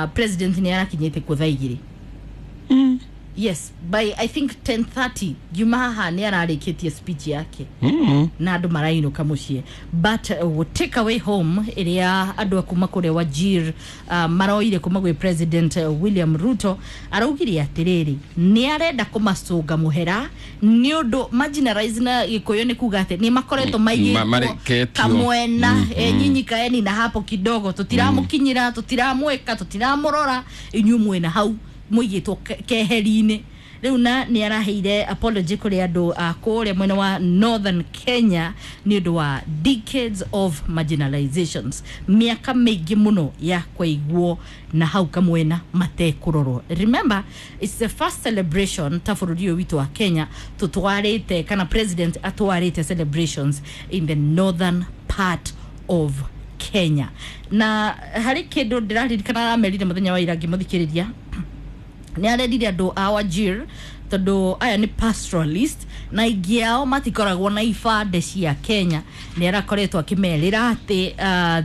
President nĩ arakinyĩte kuo thaa 2. Yes, by I think 10:30 ngiuma haha nĩ ararĩkĩtie speech yake na andũ marainũka mũciĩ. But take away home ĩrĩa andũ a kuma kũrĩa Wajir maroire kuma gwĩ President William Ruto, araugire atĩrĩrĩ, nĩ arenda kũmacũnga mũhera nĩ ũndũ marginalize, na Gĩkũyũ nĩ kuga atĩ nĩ makoretwo maigĩtwo mareketio. Kamwena, nyinyi kaeni na hapo kidogo, tũtiramũkinyĩra, tũtiramwĩka, tũtiramũrora, inyuĩ mwĩna hau mũigĩtwo keheri-inĩ. Rĩu na nĩ araheire apology kũrĩ andũ a kũrĩa mwena wa Northern Kenya nĩ ũndũ wa decades of marginalizations, mĩaka mĩingĩ mũno ya kũigwo na hau kamwena matekũrorwo. Remember, it's the first celebration ta bũrũri ũyũ witũ wa Kenya tũtwarĩte, kana president atwarĩte celebrations in the northern part of Kenya. Na harĩ kĩndũ ndĩraririkana aramerire mũthenya wa ira ngĩmũthikĩrĩria, nĩ arerire andũ a Wajir, tondũ aya nĩ pastoralist na aingĩ ao matikoragwo na ibande cia Kenya, nĩ arakoretwo akĩmerĩra atĩ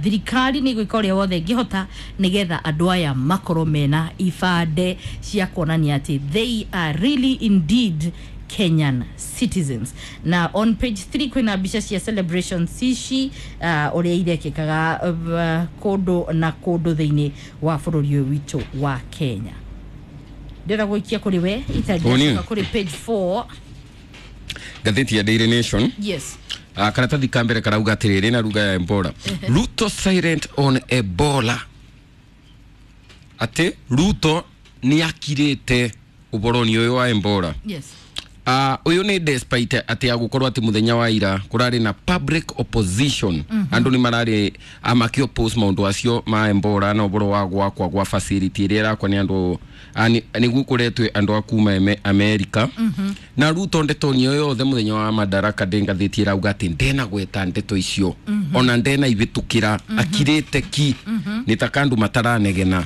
thirikari nĩ gwĩka ũrĩa wothe ĩngĩhota nĩgetha andũ aya makorwo mena ibande cia kuonania atĩ they are really indeed Kenyan citizens. Na on page 3 kwĩna mbica cia celebrations ici, ũrĩa irekĩkaga kũndũ na kũndũ thĩinĩ wa bũrũri ũyũ witũ wa Kenya. Ndĩrenda gũikia kũrĩ we. Ũũ niĩ? Itanjacoka kũrĩ page 4. Ngathĩti ya Daily Nation. Yes. Karatathi ka mbere karauga atĩrĩrĩ na ruga ya Ebola, "Ruto silent on Ebola", atĩ Ruto nĩ akirĩte ũboroni ũyũ wa Ebola. Ũyũ nĩ despite atĩ agũkorwo atĩ mũthenya wa ira kũrarĩ na public opposition, andũ nĩ mararĩ makĩ-oppose maũndũ acio ma Ebola na ũboro wa gwakwa gwa facility ĩrĩa ĩrakwa nĩ andũ nĩguo kũretwe andũ a kuma America. Na Ruto ndeto nĩyo yothe mũthenya wa Madaraka ndĩ ngathĩti ĩrauga atĩ ndenagweta ndeto icio, ona ndena ibĩtũkĩra, akirĩte ki, nĩ ta kandũ mataranegena.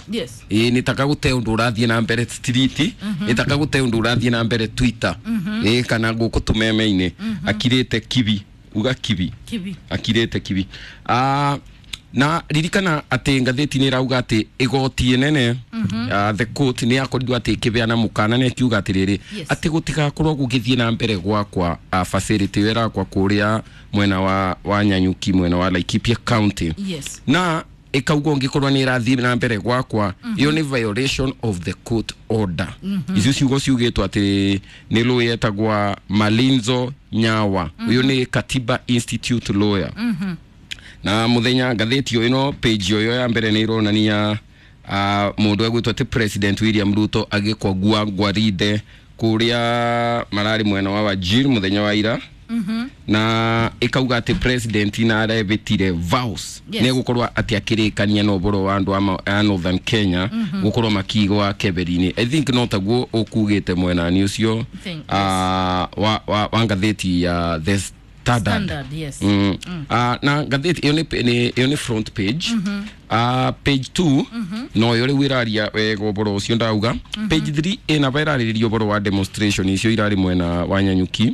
Ĩĩ, nĩ taka gũte ũndũ ũrathiĩ na mbere street, nĩ taka gũte ũndũ ũrathiĩ na mbere Twitter, ĩĩ, kana gũkũ tũmeme-inĩ. Akirĩte kibi, uga kibi. Kibi. Akirĩte kibi. Na ririkana atĩ ngathĩti nĩ ĩrauga atĩ igoti inene, the court, nĩ yakorirwo atĩ ĩkĩbeana mũkana na ĩkiuga atĩrĩrĩ, atĩ gũtigakorwo gũgĩthiĩ na mbere gwakwa facility ĩyo ĩrakwa kũrĩa mwena wa Nyanyuki, mwena wa Laikipia County, na ĩkauga ũngĩkorwo nĩ ĩrathiĩ na mbere gwakwa, ĩyo nĩ violation of the court order. Icio ciugo ciugĩtwo atĩ nĩ lawyer etagwa Malinzo Nyawa, ũyũ nĩ Katiba Institute lawyer. Na muthenya ngathĩti ĩyo ĩno, page ĩyo ya mbere nĩ ĩronania mũndũ egwĩtwo atĩ President William Ruto agĩkwagua ngwarinde kũrĩa mararĩ mwena wa Wajir mũthenya wa ira, na ĩkauga atĩ president na arebĩtire vows nĩ egũkorwo atĩ akĩrĩkania na ũboro wa andũ a Northern Kenya gũkorwo makigwa keberi-inĩ. I think no taguo ũkugĩte mwenani ũcio. Wa ngathĩti ya The Standard. Standard, yes. Na ngathĩti ĩyo ĩyo nĩ front page. Page 2 no yo rĩu ĩraria wega ũboro ũcio ndauga. Page 3 ĩna ba ĩrarĩrĩria ũboro wa demonstration icio irarĩ mwena wa Nyanyuki.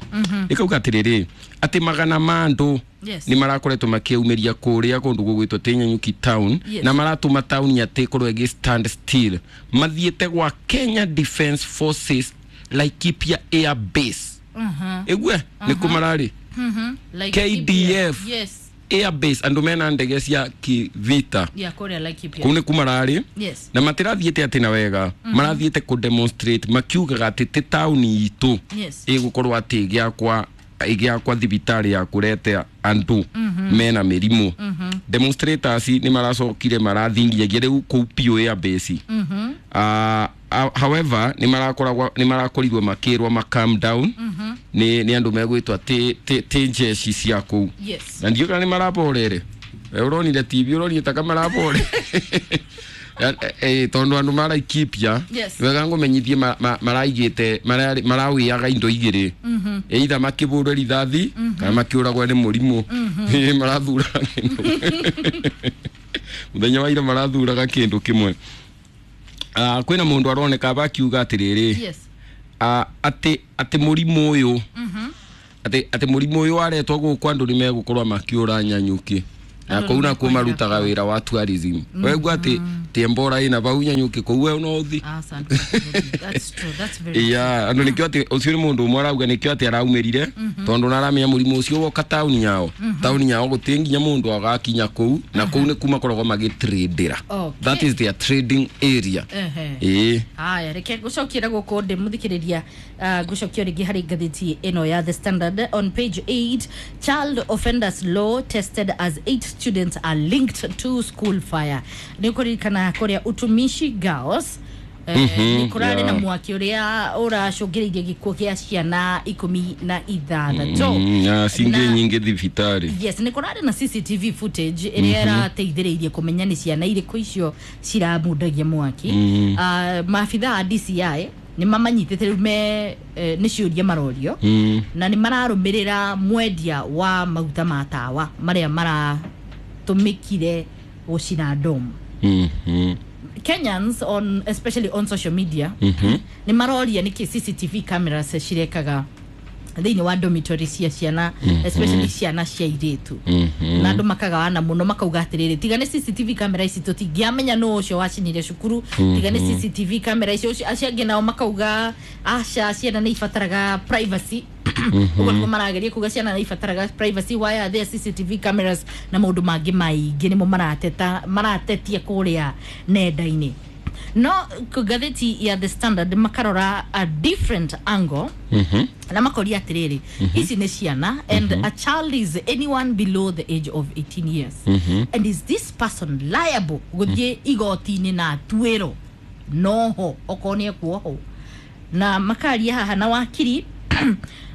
Ĩkauga atĩrĩrĩ, atĩ magana ma andũ nĩ marakoretwo makĩumĩria kũrĩa kũndũ gũgwĩtwo tĩ Nyanyuki town, na maratũma town atĩ ĩkorwo ĩgĩ stand still, mathiĩte gwa Kenya Defence Forces Laikipia Air Base. Ĩgue nĩ kũ mararĩ? Laikipia. KDF. Air Base, andũ mena ndege cia kivita. Yeah, kũrĩa Laikipia. Kũu nĩ ku mararĩ na matirathiĩte atĩ na wega, marathiĩte kũ demonstrate makiugaga atĩ ti taũni itũ ĩgũkorwo atĩ ĩgĩakwa thibitarĩ ya kũrete andũ mena mĩrimũ. Demonstrators nĩ maracokire marathingiagia rĩu kũu piũ air base. However, nĩ marakorirwo makĩrwo ma calm down nĩ andũ megwĩtwo ti jeshi cia kũu. Na ndiũ kana nĩ maraborere. Ũronire TV, ũronire taka marabore, tondũ andũ maraikipia wega ngũmenyithie maraigĩte marawĩaga indo igĩrĩ, either makĩbũrwe rithathi kana makĩũragwo nĩ mũrimũ. Marathuraga kĩndũ mũthenya wa ira, marathuraga kĩndũ kĩmwe. Kwĩna mũndũ aroneka bakiuga atĩrĩrĩ, atĩ mũrimũ ũyũ, atĩ mũrimũ ũyũ waretwo gũkũ, andũ nĩ megũkorwo makĩũra Nyanyuki. Na kũu nakuo marutaga wĩra wa tourism. Wegua atĩ tiembora ĩna vau Nyanyuki kũu we no ũthi. Asante. That's true. That's very Yeah, andũ nĩkĩo atĩ ũcio nĩ mũndũ ũmwe arauga nĩkĩo atĩ araumĩrire tondũ naramenya mũrimũ ũcio woka taũni yao. Taũni yao gũtirĩ nginya mũndũ agakinya kũu na kũu nĩ kuma makoragwo magĩtradera. Okay. That is their trading area. Ehe. Ĩĩ. Haya, reke ngucokiera guku ndi muthikiriria, ngucokio ringi hari ngathiti ino ya The Standard on page 8. Child offenders law tested as 8 students are linked to school fire. Ni kuririkana kuria Utumishi Girls nĩ kũrarĩ na mwaki ũrĩa ũracũngĩrĩirie gĩkuũ kĩa ciana 16. Na cingĩ nyingĩ thibitarĩ. Yes, nĩ kũrarĩ na CCTV footage ĩrĩa ĩrateithĩrĩirie kũmenya nĩ ciana irĩkũ icio ciramundagia mwaki. Maabitha a DCI nĩ mamanyitĩte rĩu me nĩ ciũria marorio na nĩ mararũmĩrĩra mwendia wa maguta ma tawa marĩa maratũmĩkire gũcina dom. Kenyans on especially on social media nĩ maroria nĩkĩ CCTV cameras cirekaga thĩinĩ wa dormitory cia ciana, especially ciana cia airĩtu. Na andũ makagawana mũno makauga atĩrĩrĩ, tiga nĩ CCTV camera ici tũtingĩamenya nũ ũcio wacinire cukuru, tiga nĩ CCTV camera ici. Acio angĩ nao makauga aca, ciana nĩ ibataraga privacy. Ũguo nĩguo marageria kuga ciana nĩ ibataraga privacy, why are there CCTV cameras na maũndũ mangĩ maingĩ nĩmo marateta maratetia kũrĩa nenda-inĩ. No ngathĩti ya The Standard makarora a different angle na makoria atĩrĩrĩ, ici nĩ ciana and a child is anyone below the age of 18 years, and is this person liable gũthiĩ igoti-inĩ na atuĩrwo noho okorwo nĩ ekuohwo. Na makaria haha na wakiri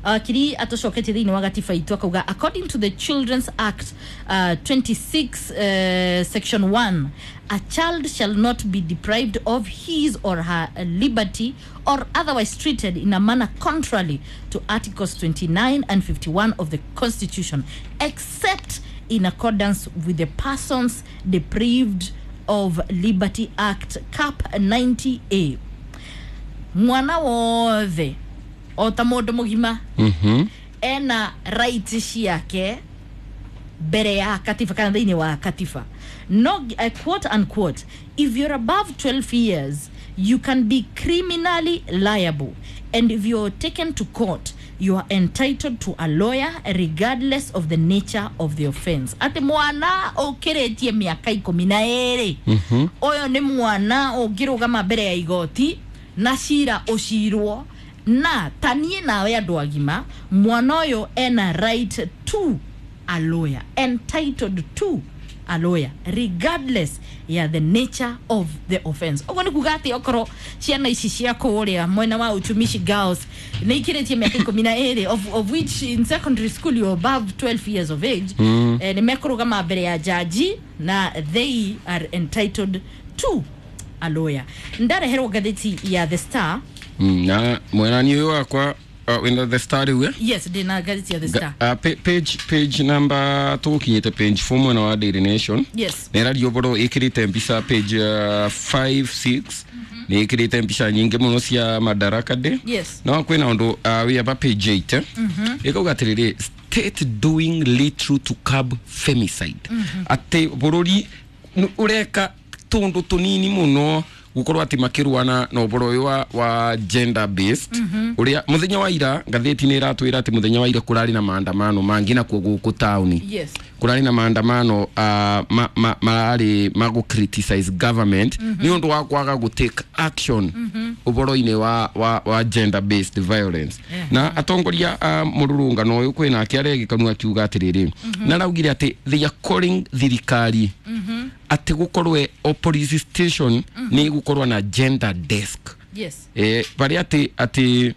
wakiri atũcoketie thĩinĩ wa gatiba itũ akauga according to the Children's Act 26 section 1, a child shall not be deprived of his or her liberty or otherwise treated in a manner contrary to articles 29 and 51 of the Constitution, except in accordance with the Persons Deprived of Liberty Act Cap 90A. Mwana wothe o ta mũndũ mũgima ena right ciake mbere ya katiba kana thĩinĩ wa katiba. No, quote unquote, if you're above 12 years you can be criminally liable, and if you're taken to court you are entitled to a lawyer regardless of the nature of the offense. Ati mwana ũkĩrĩtie mĩaka 12 ũyũ nĩ mwana ũngĩrũgama mbere ya igoti na cira ũcirwo na tanie nawe andũ agima, mwana ũyũ ena right to a lawyer, entitled to a lawyer regardless ya the nature of the offense. Ũguo nĩ kuga atĩ okorwo ciana ici cia kũrĩa mwena wa Utumishi Girls nĩ ikĩrĩtie mĩaka 12 of which in secondary school you're above 12 years of age, nĩ mekũrũgama mbere ya jaji na they are entitled to a lawyer. Ndareherwo ngathĩti ya The Star. Na mwenani ũyũ wakwa wĩna The Star rĩu, eh? Yes, ndĩna ngathĩti ya The Star. Page number tũgũkinyĩte page 4 mwena wa Daily Nation. Yes. Nĩ ĩraria ũhoro ĩkĩrĩte mbica page 5 6 nĩ ĩkĩrĩte mbica nyingĩ mũno cia Madaraka Day. Yes. No kwĩna ũndũ wĩ aba page 8 ĩkauga atĩrĩrĩ, state doing little to curb femicide. Atĩ bũrũri ũreka tũndũ tũnini mũno gukorwo ati makirwana na ũhoro ũyũ wa gender based. Ũrĩa mũthenya wa ira ngathĩti nĩ ĩratwĩra atĩ mũthenya wa ira kũrarĩ na maandamano mangĩ nakuo gũkũ taũni. Yes. Kũrarĩ na maandamano mararĩ ma gũ criticize government nĩ ũndũ wa kwaga gũ take action ũhoro-inĩ wa gender based violence. Na atongoria a mũrũrũngano ũyũ kwĩna ake aregĩkanua akiuga atĩrĩrĩ, na araugire atĩ they are calling thirikari atĩ gũkorwe o police station nĩ gũkorwo na gender desk. Yes. Barĩa atĩ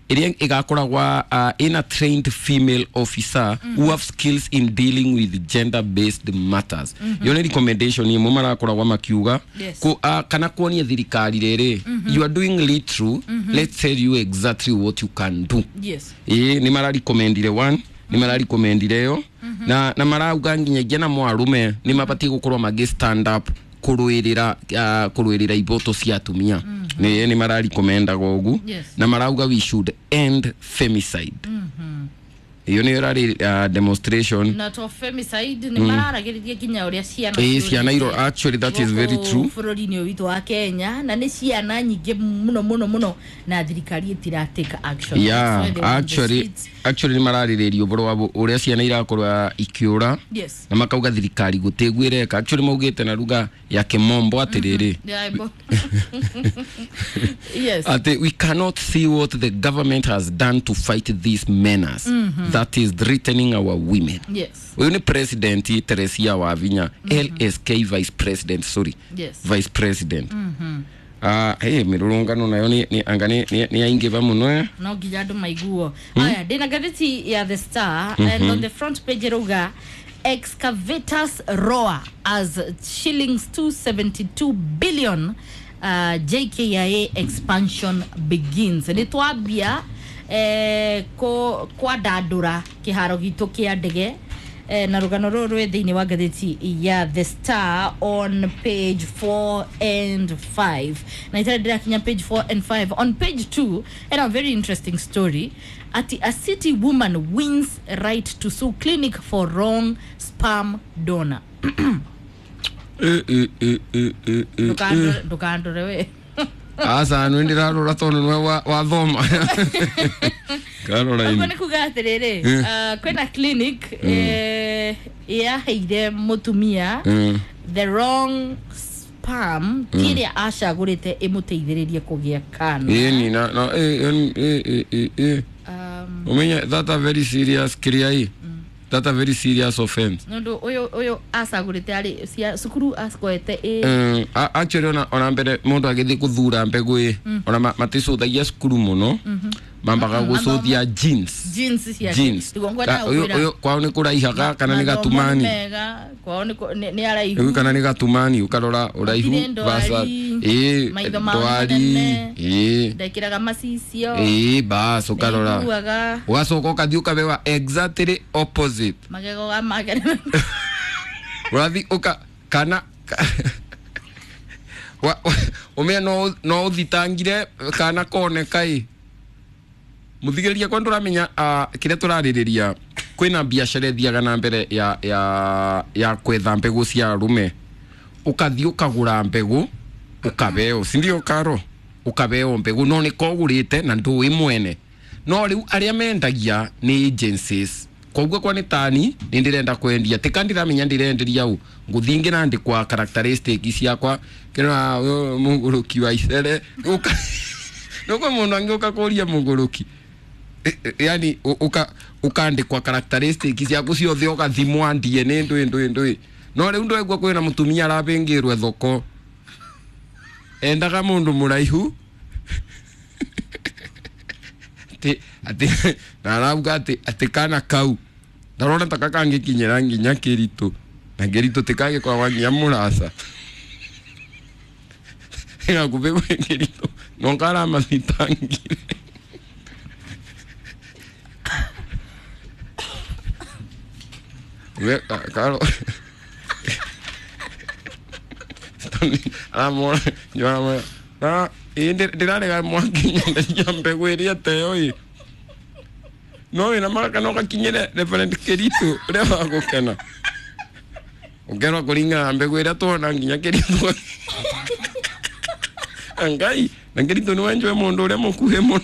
ĩrĩa ĩgakoragwa ina trained female officer who have skills in dealing with gender based matters. Yo nĩ recommendation imwe marakoragwa makiuga. Yes. Kana kuonia thirikari rĩrĩ, you are doing little, let's tell you exactly what you can do. Yes. Nĩ mararecommendire one, nĩ mararecommendire yo na marauga nginyagia na mwarume nĩ mabatiĩ gũkorwo magĩ stand up kũrũĩrĩra iboto cia atumia. Nĩ mararecommendaga ũguo. Yes. Na marauga we should end femicide. Iyo nä ärarä demonstration. Na to femicide nä mararagä nginya å rä a ciana Ĩĩ, ciana actually that is very true. Bũrũri-inĩ ũyũ witũ wa Kenya, na nĩ ciana nyingĩ mũno mũno mũno, na thirikari ĩtira take action. Yeah, That's why they were on the actually streets. Actually nä mararä rä ria å boro wa å rä a ciana irakorwo ikä å ra na makauga thirikari gå tä guä reka. Actually maugä te na ruga ya kä mombo atä rä rä Yeah, yes. Ati we cannot see what the government has done to fight this menace that is threatening our women. Uyu ni President Teresia Wavinya, LSK vice president, sorry, vice president. Ah, hey, mirurungano nayo ni anga ni yaingĩva mũno, eh? No nginya andũ maiguo. Aya, ndĩna ngathĩti ya The Star, and on the front page ĩrauga excavators roar as shillings 272 billion JKIA expansion begins. Nĩ twambia kwandandũra kĩharo gitũ kĩa ndege, na rũgano rũrũ rwĩ thĩinĩ wa ngathĩti ya The Star on page 4 and 5. Na itarĩ ndĩrakinya page 4 and 5, on page 2 and a very interesting story ati a city woman wins right to sue clinic for wrong sperm donor. Eh, eh, eh, eh, eh, eh. Ndũkandore we. Aca, nĩ ndĩrarora tondũ nĩwe wathoma Ũguo Caroline. Nĩ kuga atĩrĩrĩ, kwĩna clinic yaheire mũtumia the wrong sperm, ti ĩrĩa acagũrĩte ĩmũteithĩrĩrie kũgĩa kana. Ĩni na eh, eh, eh, eh, eh. Umenye that a very serious kiria ĩ, that a very serious offense. Nĩ ũndũ ũyũ acagũrĩte arĩ cukuru akoete ĩ. Actually ona mbere mũndũ agĩthiĩ gũthura mbegũ ĩ, ona maticũthagia cukuru mũno, mambaga gũcũthia genes. Genes ciake. Genes. Tiguo ngwendaga Ũyũ gũkwĩra. Ũyũ kwao nĩ kũraihaga kana nĩ Mathomo nĩ gatumani? Mega kwao nĩ araihu. Rĩu kana nĩ gatumani, ũkarora ũraihu Gũtirĩ ndwari, ĩ maitho mao nĩ ndwari manene. Ĩ. Ndekĩraga macicio. Ĩ, bas, ũkarora. Nĩaiguaga. Ũgacoka ũkathiĩ ũkabewa exactly opposite. Magego ga make. Ũrathiĩ ũka kana ũmenya no ũthitangire kana koneka ĩ mũthigĩrĩria kwa ndũramenya kĩrĩa tũrarĩrĩria. Kwĩna biacara ĩthiaga na mbere ya kwetha mbegũ cia arũme. Ũkathiĩ ũkagũra mbegũ ũkabeo, sindio karo? Ũkabeo mbegũ no nĩ kogũrĩte na ndũĩ mwene, no rĩu arĩa mendagia nĩ agencies. Koguo kwa nĩ tani nĩ ndĩrenda kwendia tika ndiramenya ndĩrenderia ũ, ngũthiĩ ngĩrandĩkwa characteristic ciakwa kĩrĩa mũgũrũki wa icere. Nũkwa mũndũ angĩũka kũria mũgũrũki. Yani ũkandĩkwa characteristic ciaku ciothe, ũgathimwa DNA, ndũĩ ndũĩ ndũĩ. No rĩu ndwaigua kwĩna mũtumia arabĩngĩrwe thoko, endaga mũndũ mũraihu atĩ na arauga atĩ kana kau ndarona ta kakangĩkinyĩra nginya kĩritũ, na kĩritũ tikagĩkoragwa nginya mũraca gakubĩ gwĩ kĩritũ no karamathitangire. We karo aramora njoramora na ĩ ndĩrarega mwakinyandaria mbegũ ĩrĩa teo ĩ no wĩna maka no gakinyĩre Reverend Kĩritũ ũrĩa wa gũkena ũkerwo kũringana na mbegũ ĩrĩa tuona nginya Kĩritũ angai na Kĩritũ nĩ wenjwe mũndũ ũrĩa mũkuhĩ mũno.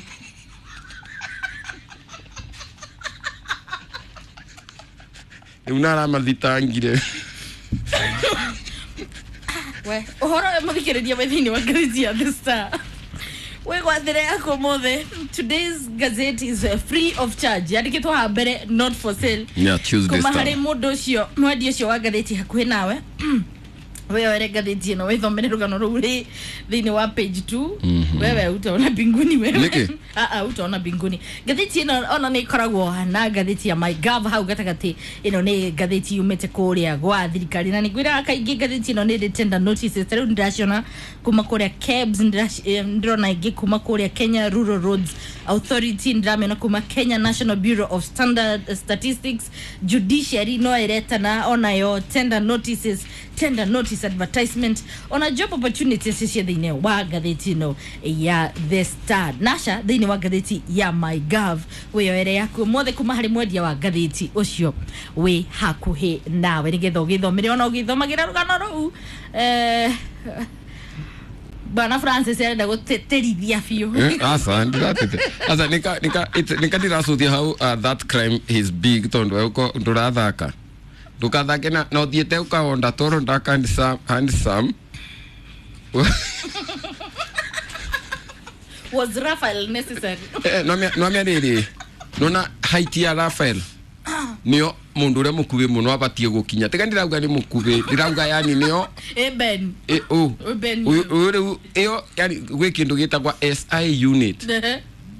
Rĩu naramathitangire. We ũhoro mũthikĩrĩria wĩ thĩinĩ wa ngathĩti ya The Star wĩgwathĩre yaku ũmũthĩ. Today's gazette is free of charge, yandĩkĩtwo haha mbere "not for sale". Yeah, Tuesday Kuma Star. Harĩ mũndũ ũcio mwendia ũcio wa ngathĩti hakuhĩ nawe, wĩyoere ngathĩti ĩno wĩthomere rũgano rũu rĩ thĩinĩ wa page 2. Wewe utaona mbinguni wewe. Nĩkĩ? Ah ah, utaona mbinguni. Ngathĩti ĩno ona nĩ ĩkoragwo na ngathĩti ya MyGov hau gatagatĩ. Ĩno nĩ ngathĩti yumĩte kũrĩa gwa thirikari, na nĩngwĩraga kaingĩ ngathĩti ĩno nĩ ĩrĩ tender notices. Ta rĩu nĩndĩraciona kuma kũrĩa KEBS, ndĩrona ĩngĩ kuma kũrĩa Kenya Rural Roads Authority, ndĩramĩona kuma Kenya National Bureau of Standard Statistics. Judiciary no ĩretana onayo tender notices, tender notices. office advertisement ona job opportunities cia thĩinĩ wa ngathĩti ĩno ya The Star. Nasha thĩinĩ wa ngathĩti ya MyGov wĩyoere yaku mothe kuma harĩ mwendia wa ngathĩti ũcio wĩ hakuhĩ nawe nĩgetha ũgĩthomere ona ũgĩthomagĩra rũgano rũu. Bwana Francis arenda gũtĩtĩrithia biũ. Asa ndiratete asa nika ndiracuthia how that crime is big tondu uko ndurathaka ndukathake na uthiĩte ũkahonda toro ndaka handsome. Was Raphael necessary? No rĩrĩ nona height ya Raphael nĩyo mundu uria mukubi muno abatie gukinya tiga ndirauga ni mukubi ndirauga yani nio ben ben uyu iyo yani gwi kindu gitagwa SI unit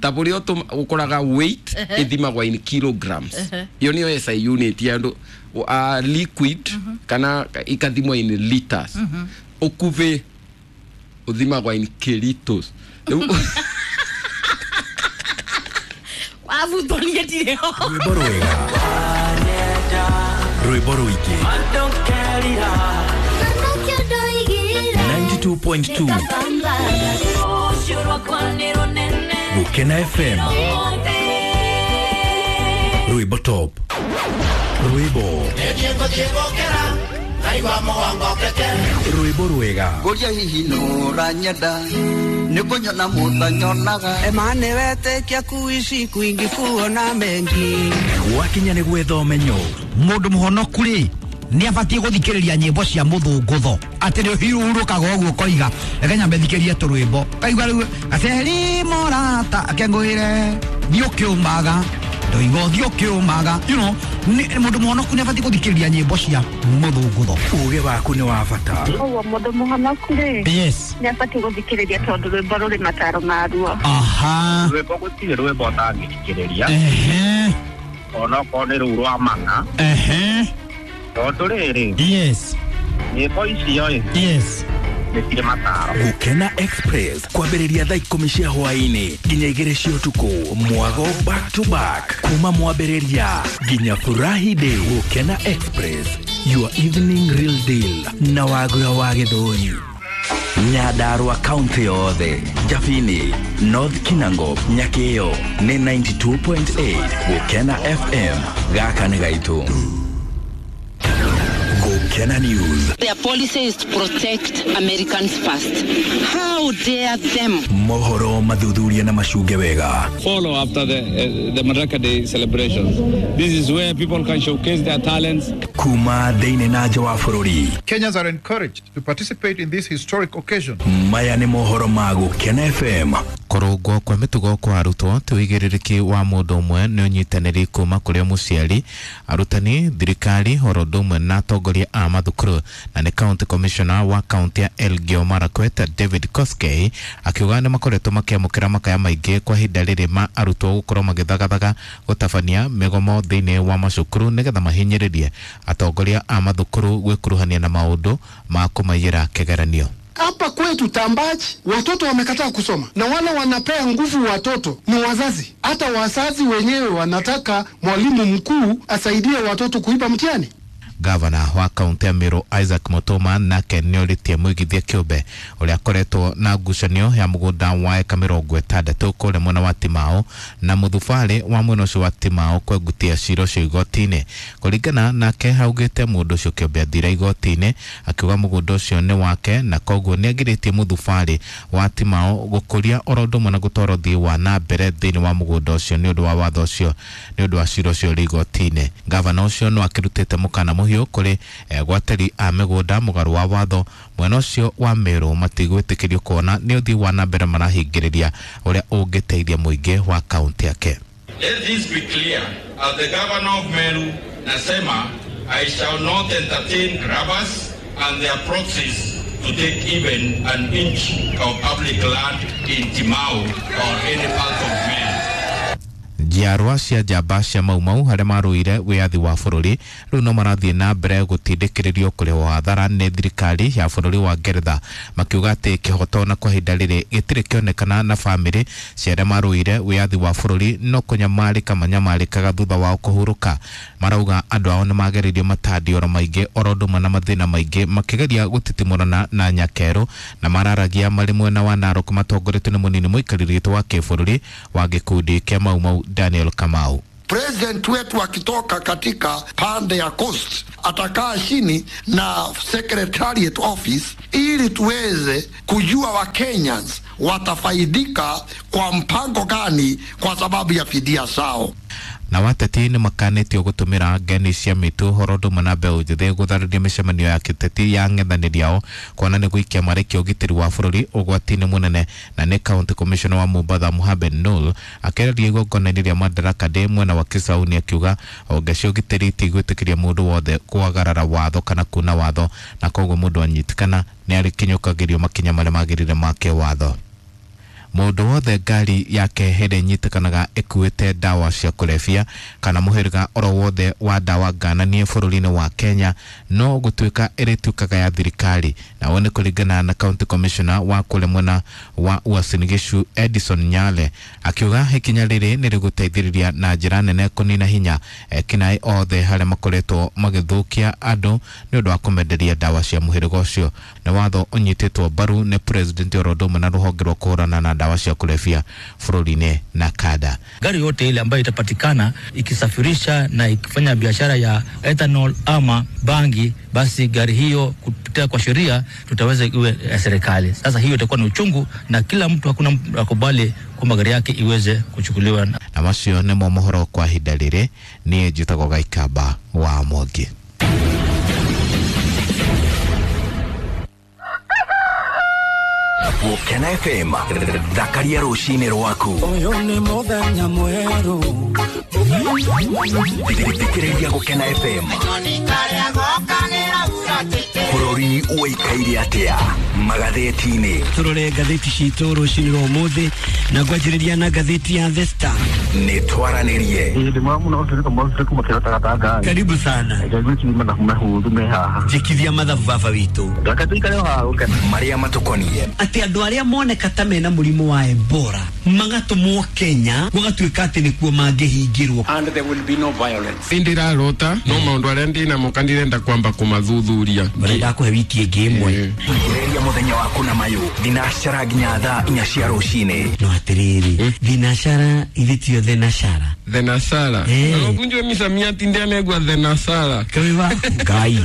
ta buri ukoraga weight ithimagwa in kilograms iyo niyo SI unit ya andu liquid kana ikathimwa in liters ukubi uthimagwa in kilitos. Wavutonie ndire ho rwimbo rwega rwimbo rwingĩ 92.2 Gukena FM rwimbo top rwimbo rwimbo rwega ngoria hihi nũranyenda nĩkũnyona mũtanyonaga emane wetekia kuishi kwingi kuona mengi gwakinya nĩ gwetha ũmenyo mũndũ mũhonoku rĩ nĩ abatiĩ gũthikĩrĩria nyĩmbo cia mũthũngũtho atĩ nĩ ũhurũkaga ũguo ũkoiga reke nyambe thikĩrie tũrwĩmbo kaigua rĩu gaceri morata akengũĩre thiĩ ũkĩũmaga ndoiga ũthiĩ ũkĩũmaga you know mũndũ mũhonoku nĩ abatiĩ gũthikĩrĩria nyĩmbo cia mũthũngũtho. Ũgĩ waku nĩ wa bata. Ũguo mũndũ mũhonoku rĩ yes nĩ abatiĩ gũthikĩrĩria tondũ rwĩmbo rũrĩ mataro maruo. Aha rwĩmbo gũtirĩ rwĩmbo ũtangĩthikĩrĩria onokorwo nĩ rũu rwa mana tondũ rĩrĩ yes nyĩmbo icio ĩ yes nĩ cirĩ mataro. Gukena Express kwambĩrĩria thaa 10 cia hwaĩ-inĩ nginya 2 cia ũtukũ mwago back to back kuma mwambĩrĩria nginya furahi day. Gukena Express, your evening real deal na Wagura wa Gĩthũri. Nyandarua kaunti yothe Jabini, North Kinango, Nyakĩo nĩ 92.8 Gukena FM gaka nĩ gaitũ. Gukena News. Their policy is to protect Americans first. How dare them? Mohoro mathuthuria na macunge wega. Follow after the Madaraka Day celebrations. This is where people can showcase their talents. Kuma thĩinĩ na nja wa bũrũri. Kenyans are encouraged to participate in this historic occasion. Maya nĩ mohoro ma Gukena FM. Kũrũngwo kwa mĩtugo kwa arutwo ti ũigĩrĩrĩki wa mũndũ ũmwe nĩ ũnyitanĩri kuma kũrĩ mũciari, arutani, thirikari oro ũndũ ũmwe na atongoria a mathukuru. Na nĩ county commissioner wa kaunti ya Elgeyo Marakwet David Koskei akiuga nĩ makoretwo makĩamũkĩra makaya maingĩ kwa ihinda rĩrĩ ma arutwo gũkorwo magĩthagathaga gũtabania mĩgomo thĩinĩ wa macukuru nĩgetha mahinyĩrĩrie atongoria a mathukuru gwĩkuruhania na maũndũ ma kũmaiyĩra kĩgeranio. Hapa kwetu Tambachi watoto wamekataa kusoma, na wale wanapea nguvu watoto ni wazazi. Hata wazazi wenyewe wanataka mwalimu mkuu asaidie watoto kuiba mtihani. Gavana wa kaunti ya Meru Isaac Mutuma nake nĩorĩtie mũigithia kĩũmbe ũrĩa akoretwo na ngucanio ya mũgũnda wa eka 60 kũrĩa mwena wa Timao na mũthubarĩ wa mwena ũcio wa Timao kwengutia cira ũcio igoti-inĩ. Kũringana nake augĩte mũndũ ũcio kĩũmbe athire igoti-inĩ akiuga mũgũnda ũcio nĩ wake na koguo nĩagirĩtie mũthubarĩ wa Timao gũkũria oro ũndũ ũmwe na gũtwara ũthii wa na mbere thĩinĩ wa mũgũnda ũcio nĩ ũndũ wa watho ũcio nĩ ũndũ wa cira ũcio ũrĩ igoti-inĩ. Gavana ũcio no akĩrutĩte mũkana mũhiũ kũrĩ gwateri a mĩgũnda mũgarũ wa watho mwena ũcio wa Meru matigwĩtĩkĩrio kuona nĩ ũthii wa na mbere marahingĩrĩria ũrĩa ũngĩteithia mũingĩ wa kaunti yake. Let this be clear. As the governor of Meru, nasema, I shall not entertain grabbers and their proxies to take even an inch of public land in Timau or any part of Meru. Njiarwa cia njamba cia Mau Mau harĩa marũire wĩyathi wa bũrũri rĩu no marathiĩ na mbere gũtindĩkĩrĩrio kũrĩhwo hathara nĩ thirikari ya bũrũri wa Ngeretha, makiuga atĩ kĩhoto na kwa ihinda rĩrĩ gĩtirĩ kĩonekana na bamĩrĩ cia arĩa marũire wĩyathi wa bũrũri no kũnyamarĩka manyamarĩkaga thutha wao kũhurũka. Marauga andũ ao nĩ magereirio matandioro maingĩ oro ũndũ ũmwe na mathĩna maingĩ makĩgeria gũtitimũrana na nyakerũ, na mararagia marĩ mwena wa Narok matongoretio nĩ mũnini mũikarĩri gĩtĩ wa kĩbũrũri wa gĩkundi kĩa Mau Mau Daniel Kamau. President wetu akitoka katika pande ya coast atakaa chini na secretariat office ili tuweze kujua wa Kenyans watafaidika kwa mpango gani kwa sababu ya fidia zao. Na wateti nĩ makanĩtio gũtũmĩra ngeni cia mĩtũ ũhoro ũndũ ũmwe na mbeũ njĩthĩ gũtharĩria mĩcemanio ya kĩteti ya ng'ethanĩri ao kuona nĩ gũikia marĩkia ũgitĩri wa bũrũri ũgwati-inĩ mũnene. Na nĩ county commissioner wa Mombatha Mohamed Noor akĩarĩria igongona-inĩ rĩa Madaraka Day mwena wa Kisauni akiuga honge cia ũgitĩri itigwĩtĩkĩria mũndũ wothe kwagarara watho kana kuna watho, na koguo mũndũ anyitikana nĩ arĩkinyũkagĩrio makinya marĩa magĩrĩire ma kĩwatho. Mũndũ wothe ngari yake hĩndĩ ĩnyitĩkanaga ĩkuĩte ndawa cia kũrebia kana mũhĩrĩga oro wothe wa ndawa ngananie bũrũri-inĩ wa Kenya no gũtuĩka ĩrĩtuĩkaga ya thirikari, na ũũ nĩ kũringana na county commissioner wa kũrĩa mwena wa Uasin Gishu Edison Nyale akiuga ikinya rĩrĩ nĩ rĩgũteithĩrĩria na njĩra nene kũnina hinya ekinaĩ othe harĩa makoretwo magĩthũkia andũ nĩ ũndũ wa kũmenderia ndawa cia mũhĩrĩga ũcio. Nĩ watho ũnyitĩtwo mbaru nĩ president oro ũndũ ũmwe na rũhonge rwa kũhũrana na dawa cia kulevya bũrũri-inĩ na kada. Gari yote ile ambayo itapatikana ikisafirisha na ikifanya biashara ya ethanol ama bangi, basi gari hiyo kupitia kwa sheria tutaweza iwe ya serikali. Sasa hiyo itakuwa ni uchungu na kila mtu, hakuna mtu akubali kwamba gari yake iweze kuchukuliwa. Na macio nĩmo mohoro kwa ihinda rĩrĩ. Niĩ njĩtagwo Gaikamba wa Mwangi. Gũkena FM, thakaria rũcinĩ rwaku. Ũyũ nĩ mũthenya mwerũ. Thikĩrĩria Gũkena FM. Bũrũri ũikaire atĩa magathĩti-inĩ? Tũrore ngathĩti citũ rũcinĩ rwa ũmũthĩ na ngwanjĩrĩria na ngathĩti ya The Star. Nĩ twaranĩrie. Karibu sana. Njĩkithia mathabu baba witũ. Marĩa matũkoniĩ. Atĩ andũ arĩa moneka ta mena mũrimũ wa Ebola magatũmwo Kenya gũgatuĩka atĩ nĩkuo mangĩhingĩrwo. And there will be no violence. Ndirarota no maũndũ arĩa ndĩnamo kana ndirenda kwamba kũmathuthuria. Barenda kũhe wiki ĩngĩ ĩmwe. Thikĩrĩria mũthenya waku na mayũ thinacara nginya thaa 4 cia rũcinĩ. No atĩrĩrĩ, thinacara ithe tio thenashara. Thenashara. Ũkunjwe misamiati ndianegwa thenashara. Kaiwa Ngai.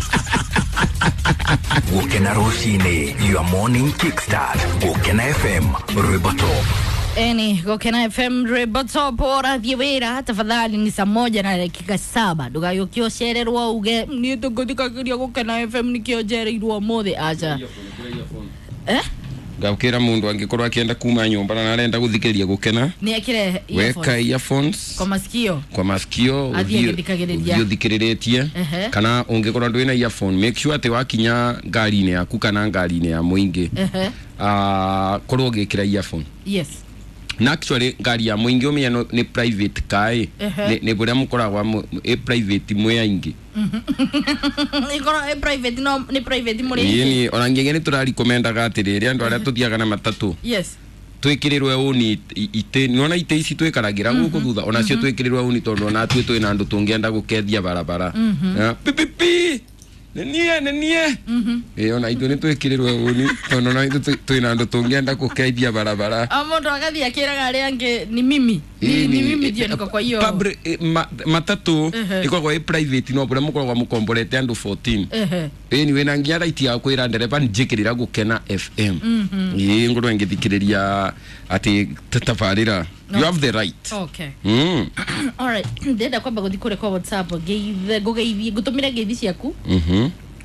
Gũkena rũcinĩ, your morning kickstart. Gũkena FM, rwĩmbo top. Eni, Gũkena FM rwĩmbo top. Ũrathiĩ wĩra tafadhali ni saa 1:07 ndũgagĩũke ũcererwo uge niĩ tũngũthikagĩria Gũkena FM nĩkĩo njereirwo ũmũthĩ. Aca. Ngakĩra mũndũ angĩkorwo akĩenda kuma nyũmba na arenda gũthikĩrĩria Gũkena nĩ ekĩre weka earphones kwa masikio, kwa masikio athiĩ agĩthikagĩrĩria ũthikĩrĩrĩtie, kana ũngĩkorwo ndwĩna earphone make sure atĩ wakinya ngari-inĩ yaku kana ngari-inĩ ya mũingĩ korwo ũgĩkĩra earphone. Yes. Na actually ngari ya mũingĩ ũmenye nĩ private car nĩ bũrĩa mũkoragwo ĩ private mwĩ aingĩ. Ikorwo ĩ private no nĩ private mũrĩ aingĩ. Ona ngĩngĩ nĩ tũrarikomendaga atĩrĩrĩ andũ arĩa tũthiaga na matatũ. Yes. Twĩkĩrĩrwe ũni itĩ nĩwona itĩ ici twĩkaragĩra gũkũ thutha onacio twĩkĩrĩrwe ũni tondũ ona tuĩ twĩna andũ tũngĩenda gũkethia barabara. Pipipi nenie nenie. Ona ithuĩ nĩ twĩkĩrĩrwe ũni tondũ ona ithuĩ twĩna andũ tũngĩenda gũkeithia barabara. O mũndũ agathiĩ akĩraga arĩa angĩ ni mimi. Ni mimi ndio niko kwa hiyo. Matatu ĩkoragwo ĩ private no bũrĩa mũkoragwo mũkomborete andũ 14. Ĩni wĩna nginya right ya kwĩra ndereba njĩkĩrĩra Gũkena FM. Ĩĩ ngorwo ngĩthikĩrĩria atĩ tabarĩra. You have the right. Okay. All right. Ndenda kwamba gũthiĩ kũrĩa kwa WhatsApp ngeithe ngũgeithie ngũtũmĩre ngeithi ciaku.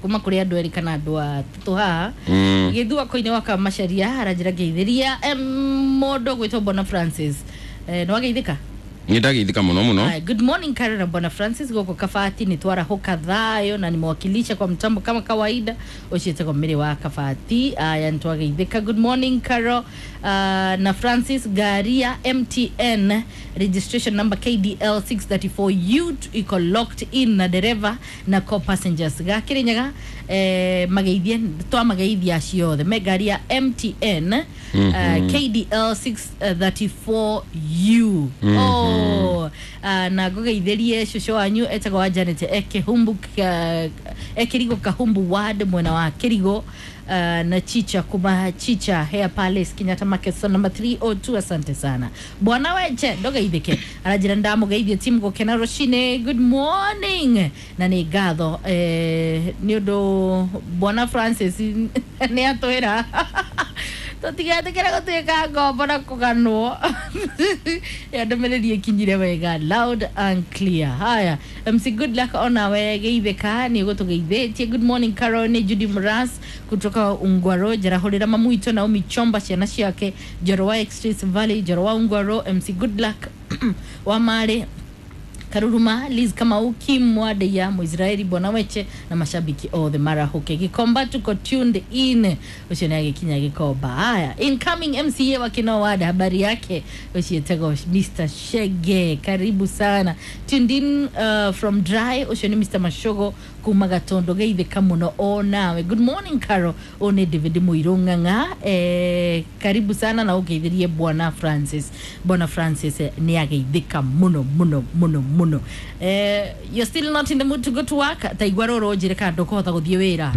Kuma kũrĩ andũ erĩ kana andũ atatũ haha. Gĩthua koine wa Kamacharia aranjĩra ngeithĩria mũndũ gwĩtwo Bona Francis. Nĩ wageithĩka? Nĩ ndageithĩka mũno mũno. Haya, good morning Karen na Bwana Francis goko Kabati ni twarahuka thayo na nimewakilisha kwa mtambo kama kawaida ucietagwo mĩrĩ wa Kabati. Aya, nitwageithĩka. Good morning Caro na Francis. Garia MTN registration number KDL 634U iko locked in na dereva na co passengers gakirinyaga mageithie twamageithia ciothe me ngari ya MTN KDL 634U. Oh, na ngũgeithĩrie cũcũ wanyu etagwo wa Janet ekĩhumbu ekĩrigo Kahumbu ward mwena wa Kĩrigo, na Chicha kuma Chicha Hair Palace Kenyatta Market so number 302. Asante sana bwana Weche, ndogeithĩke aranjĩra ndamũgeithie timu gũkena rũcinĩ. Good morning na nĩ ngatho nĩ ũndũ bwana Francis nĩ atwĩra tũtigetĩkĩre gũtuĩka ngombo na kũganwo ya ndũmĩrĩri ĩkinyire wega loud and clear. Haya, MC Good Luck onawe geithĩka nĩ ũgũtũgeithĩtie. Good morning Carol, nĩ Judy Mras kutoka Ungwaro njarahũrĩra mamu witũ Naomi Chomba ciana ciake Njoro wa Express Valley Njoro wa Ungwaro MC Good Luck wa Mare Karuruma Liz Kamau Kim Mwadeya Muisraeli Bwana Weche na mashabiki othe marahuke Gikomba tuko tuned in ucio nĩ agĩkinya Gikomba. Haya, incoming MCA wa Kinoo Ward habari yake ucietagwo Mr Shege, karibu sana. Tuned in from dry ucio nĩ Mr Mashogo kuma Gatondo, geithĩka mũno o nawe. Good morning Caro, ũyũ nĩ David Mũirũ Ng'ang'a, karibu sana na ũgeithĩrie Bwana Francis. Bwana Francis nĩ ageithĩka mũno mũno mũno mũno. You're still not in the mood to go to work, ta igua rũrũ njĩre kana ndũkũhota gũthiĩ wĩra.